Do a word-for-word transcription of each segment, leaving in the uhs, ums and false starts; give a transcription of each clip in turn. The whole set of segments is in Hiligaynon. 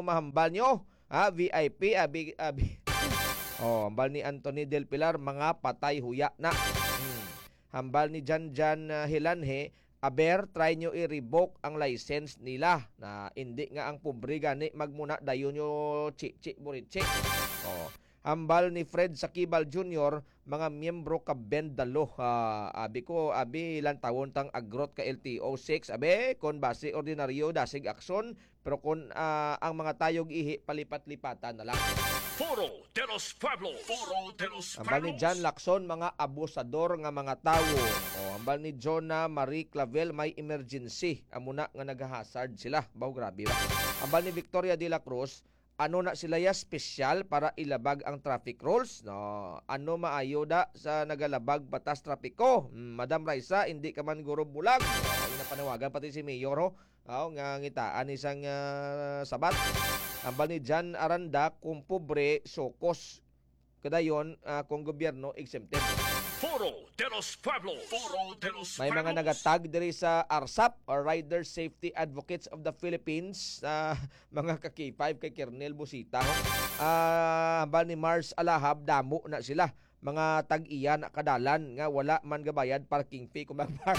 mahambal nyo, ha? V I P, abi, abi. Oh, hambal ni Anthony Del Pilar, mga patay huya na. Hmm. Hambal ni Jan Jan, ah, Hilanhe, aber, try nyo i-revoke ang license nila. Na, hindi nga ang pobre gani magmuna, dayon nyo chi-chi burichi. Oh. Hambal ni Fred Sakibal Junior, mga miyembro ka Bend the Law. Ah, abi ko, abi, lantawon tang agrot ka L T O six. Abi, kon basi ordinaryo, dasig aksyon, pero kon, ah, ang mga tayog ihi, palipat-lipatan na lang. Foro de los Pueblos. Foro de los Hambal ni Pueblos. John Lacson, mga abusador nga mga tawo. O, hambal ni Jonah Marie Clavel, may emergency. Amo na nga nagahasard sila. Baw, grabe ba? Hambal ni Victoria de la Cruz, ano na sila ya special para ilabag ang traffic rules? No? Ano maayo da sa nagalabag batas trapiko? Hmm, Madam Raisa, hindi ka man guro bulag. Ay, napanawagan pati si Mayor, ho. Aw, nga ngitaan isang, ah, sabat. Hambal ni Jan Aranda, kung pobre, sokos. Kadayon, ah, kung gobyerno, exempted. Foro de los Pueblos. Foro de los May mga Pueblos. Nagatag diri sa arsap, or Rider Safety Advocates of the Philippines, ah, mga ka-K five kay Kernel Busita, ho. Ah, hambal ni Mars Alahab, damo na sila. Mga tag-iya na kadalan nga wala man gabayad parking fee kung magpar-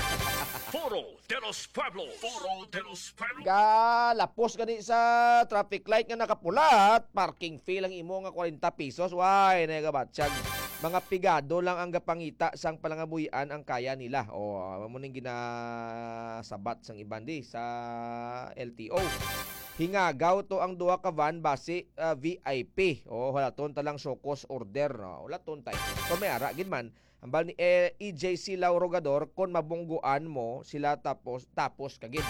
Foro de los Pueblos. Foro de los Pueblos. Galapos gani sa traffic light nga nakapulat, parking fee lang imo nga kwarenta pesos. Way, nagabatyag. Mga pigado lang ang gapangita sang palangabuhian ang kaya nila. O, amo ning ginasabat sang iban di sa L T O. Hingagaw to ang duha ka van basi, ah, V I P. O, halaton ta lang show cause order, no? Halaton tay. Kung may ara gid man, hambal ni, eh, E J C Lauro Gador, kon mabungguan mo sila tapos, tapos ka gid.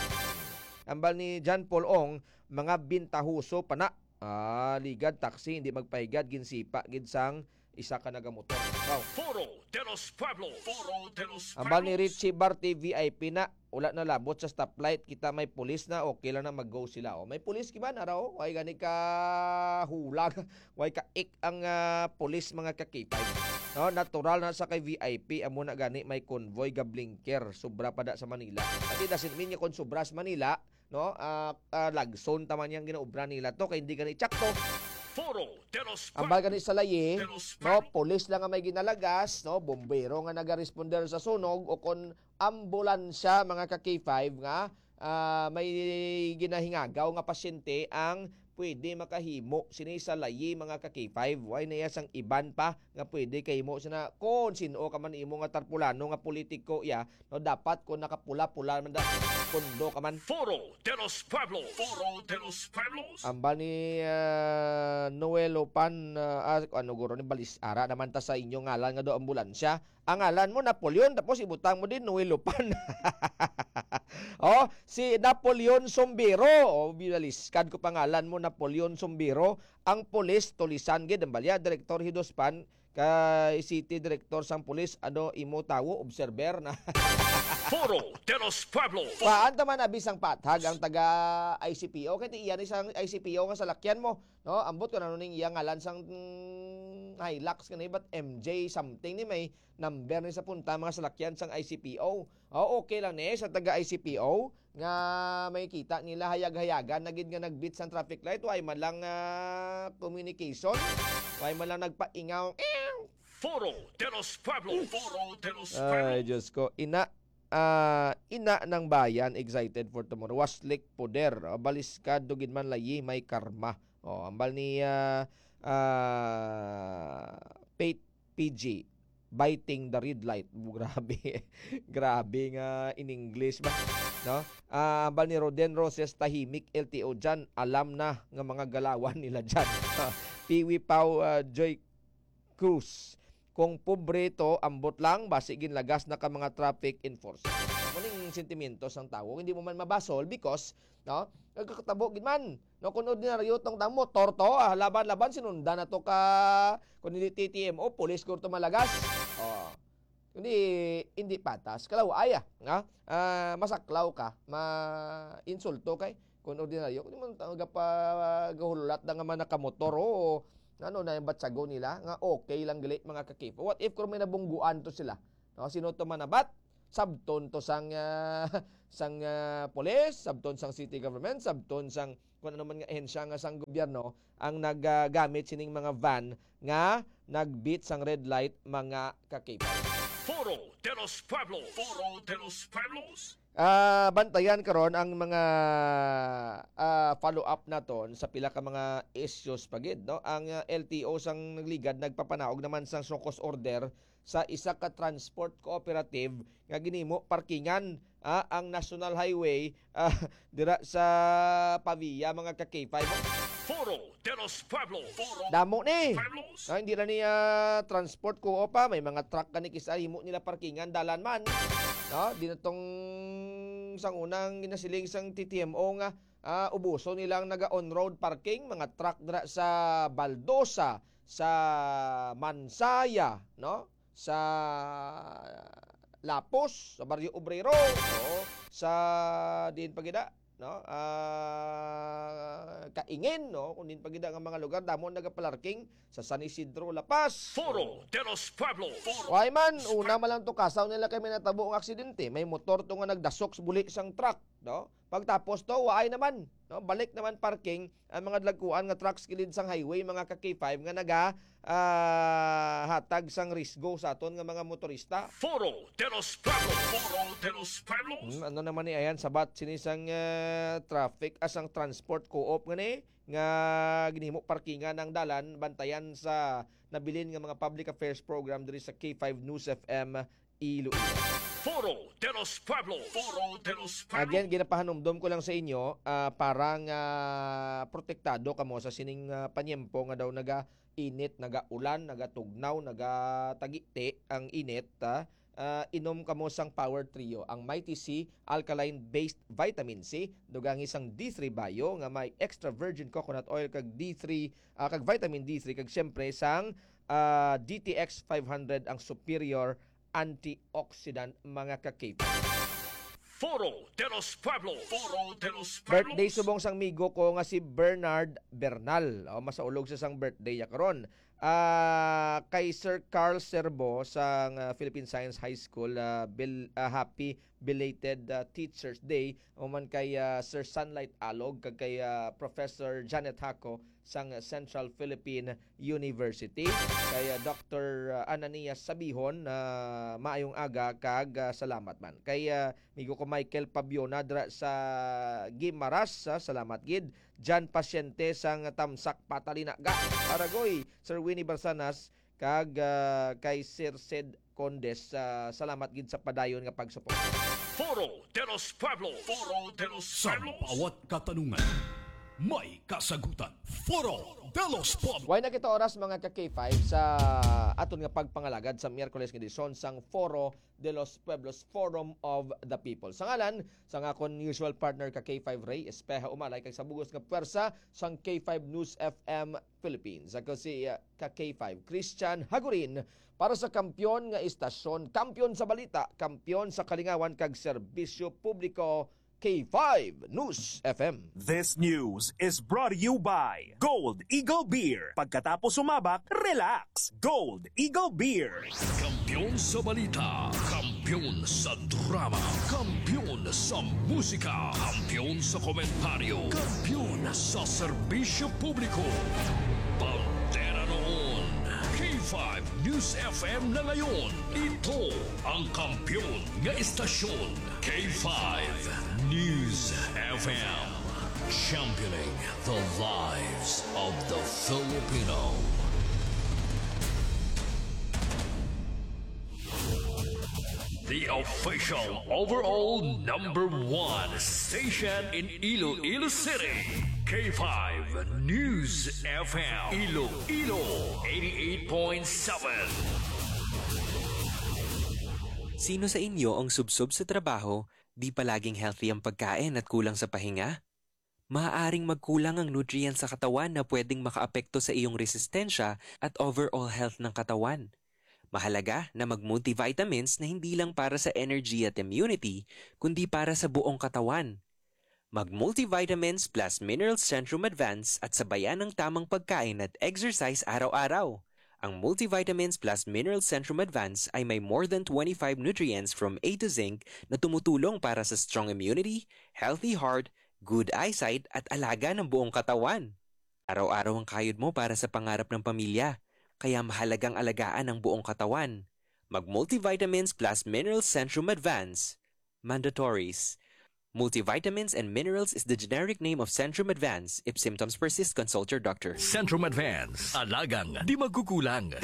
Hambal ni John Paul Ong, mga bintahoso pa na. Ah, ligad taxi, hindi magpahigad, ginsipa gid sang isa ka nagamotor. Wow. Foro de los Pueblos. Foro de los Hambal ni Pueblos. Richie Barte, V I P na. Wala na labot sa stoplight, kita may pulis na, okay lang na, mag-go sila. O, may pulis kiba na raw, way gani ka hulag, way ka ik ang, ah, pulis, mga ka-K five. No, natural na sa kay V I P, amo na gani may convoy ga blinker, sobra pa da sa Manila. Pati doesn't mean nga kung sobra sa Manila, no, ah, ah, lagson taman yang ginaobra nila to, kay hindi gani tsakto. Foro de los Ambal gani sa layi, de los no, pulis lang nga may ginalagas, no, bombero nga nagaresponder sa sunog, o kon ambulansya, mga ka-K five, nga, ah, may ginahingagaw nga pasyente ang pwede makahimo sini sa layi, mga ka-K five. Way na iya sang iban pa nga pwede kahimo sina kon sin-o ka man imo nga tarpulano nga politiko iya, no, dapat kon nakapula-pula man da, pondo ka man. Foro de los Pueblos. Foro de los Pueblos. Ambal ni, ah, Noel Opan, ah, ah, ano guro ni Balis, ara naman ta sa inyo ngalan nga do ambulansya. Ang ngalan mo, Napoleon, tapos ibutang mo din, Noel Lupan. Oh, si Napoleon Sombiro. Oh, binaliskad ko pangalan mo, Napoleon Sombiro. Ang pulis, tulisan gid, ang balya, Direktor Hidospan, kay City Director sang Pulis, ano, imo tawo, observer na. Foro de los Pueblos. Paan ta man abi sang pathag ang taga I C P O? Kay ti iya ni sang I C P O nga salakyan mo, no? Ambot ko na ning iya ngalan sang, mm, Hilux ka ni, but M J something ni may number ni sa punta mga salakyan sang I C P O. Oh, okay lang ni sa taga I C P O nga may kita nila hayag-hayagan na gid nga nag-beat sang traffic light, way man lang, ah, communication, way man lang nagpaingaw. Foro de los Pueblos. Foro de los Pueblos. Ay, Diyos ko. Ina, ah, ina ng bayan, excited for tomorrow. Waslik poder. Ah, baliskado gid man layi, may karma. Oh, ambal ni, ah, ah, Pate P G, biting the red light. Grabe. Grabe nga in English ba? No? Ah, ambal ni Roden Roses, tahimik L T O dyan. Alam na nga mga galawan nila dyan. Piwi Pau, ah, Joy Cruz. Kung pobre to, ambot lang, basi ginlagas na ka mga traffic enforcer. Amo ning sentimiento sang tawo, hindi mo man mabasol because, no, nagkakatabo gid man. No, kung ordinaryo tong tang motor to, ah, laban-laban, sinundan na to ka, kung hindi T T M O, pulis ko to malagas. Oh. Hindi, hindi patas. Kalaw, ay, ah, nga, ah, masaklaw ka, ma-insulto kay, kung ordinaryo, kung di man ta-, gapa-, gahulat na nga man nakamotor, oo, ano na yung batsago nila, nga okay lang gali, mga ka-K five. What if kung may nabungguan to sila? No, sino to manabat? Sabton to sang, ah, sang, ah, pulis, sabton sang city government, sabton sang kung ano man nga ahensya nga sang gobyerno ang nagagamit sining mga van nga nag-beat sang red light, mga ka-K five. Foro de los Pueblos. Foro de los Pueblos. Ah, bantayan karon ang mga, ah, follow-up naton sa pila ka mga issues pa gid, no? Ang, ah, L T O sang Nagligad nagpapanaog naman sang show cause order sa isa ka transport cooperative nga ginhimo parkingan, ah, ang National Highway, ah, dira sa Pavia, mga ka-K five. Foro de los Pueblos. Foro Damo ni. Pueblos. Ah, hindi na niya transport ko pa. May mga truck ka ni kisa himo nila parkingan, dalan man. No? Di na tong sang unang ginasiling sang T T M O nga, ah, ubuso nilang naga on-road parking, mga truck dira sa Baldosa, sa Mansaya, no? Sa Lapos, sa Barrio Obrero, oo, sa diin pa gid, no? Ah, Kaingin, no? Kung diin pa gid nga mga lugar, damo nagapalarking sa San Isidro, La Paz. Foro de los Pueblos. Why man, una man lang to kasaw nila kay may natabo ang aksidente. May motor to nga nagdasok sa buli sang truck, no? Pagtapos to, waay naman, no? Balik naman parking ang mga dalagkuan nga trucks kilid sang highway, mga ka-K five, nga naga, ah, hatag sang risgo sa aton nga mga motorista. Foro de los Pueblos. Foro de los Pueblos. Hmm, ano naman ni ayan, sabat sini sang, ah, traffic, ah, sang transport co-op nga ni, nga ginhimo parkingan ang dalan, bantayan sa nabilin nga mga public affairs program diri sa K five News F M Iloilo. Foro de los Pueblos. Foro de los Pueblos. Again, ginapahanumdom ko lang sa inyo, ah, para nga protektado kamo sa sining, ah, panyempo nga daw naga-init, naga-ulan, nagatugnaw, nagatagiti ang init, ah. Ah, inom kamo sang Power Trio, ang Mighty C alkaline-based vitamin C, dugangi sang D three Bio nga may extra virgin coconut oil kag D three, ah, kag vitamin D three, kag siyempre sang, ah, D T X five hundred, ang superior antioxidant, mga ka-K five. Foro de los Pueblos. Foro de los Pueblos. Birthday subong sang migo ko nga si Bernard Bernal. O, masaulog sa sang birthday ya karon. Ah, kay Sir Carl Serbo sang, ah, Philippine Science High School, ah, bil-, ah, happy belated, ah, Teachers Day. Human kay, ah, Sir Sunlight Alog, kag kay, ah, Professor Janet Haco sang Central Philippine University. Kay, ah, Doctor Ananias Sabihon, ah, maayong aga kag, ah, salamat man. Kay, ah, migo ko Michael Pabiona dira sa Guimaras, ah, salamat gid. Jan Pasyente sang Tamsak Patalinaga, Paragoy, Sir Winnie Barsanas, kag, ah, kay Sir Sed Condes, ah, salamat gid sa padayon nga pagsuporta. Foro de los Pueblos. Foro de los Sa Pueblos. Bawat katanungan, may kasagutan. Foro de los Pueblos. Way na kita oras, mga ka K five, sa aton nga pagpangalagad sa Miyerkules nga edisyon sang Foro de los Pueblos, Forum of the People. Sa ngalan sang akon usual partner ka K five Ray Espejo Umalay, kag sa bugos nga puwersa sang K five News F M Philippines. Ako si, uh, ka K five, Christian Hagurin, para sa kampiyon nga istasyon, kampiyon sa balita, kampiyon sa kalingawan kag serbisyo publiko, K five News F M. This news is brought to you by Gold Eagle Beer. Pagkatapos sumabak, relax. Gold Eagle Beer. Kampiyon sa balita, kampiyon sa drama, kampiyon sa musika, kampiyon sa komentaryo, kampiyon sa serbisyo publiko. Bandera noon, K five News F M na ngayon. Ito ang kampiyon nga istasyon, K five News F M. Championing the lives of the Filipino. The official overall number one station in Iloilo City, K five News F M, Iloilo eighty-eight point seven. Sino sa inyo ang subsob sa trabaho, di palaging healthy ang pagkain at kulang sa pahinga? Maaaring magkulang ang nutrients sa katawan na pwedeng makaapekto sa iyong resistensya at overall health ng katawan. Mahalaga na mag-multivitamins na hindi lang para sa energy at immunity, kundi para sa buong katawan. Mag-multivitamins plus minerals Centrum Advance at sabayan ng tamang pagkain at exercise araw-araw. Ang Multivitamins Plus Minerals Centrum Advance ay may more than twenty-five nutrients from A to Zinc na tumutulong para sa strong immunity, healthy heart, good eyesight, at alaga ng buong katawan. Araw-araw ang kayod mo para sa pangarap ng pamilya, kaya mahalagang alagaan ang buong katawan. Mag Multivitamins Plus Minerals Centrum Advance. Mandatories. Multivitamins and minerals is the generic name of Centrum Advance. If symptoms persist, consult your doctor. Centrum Advance. Alagang di magkukulang.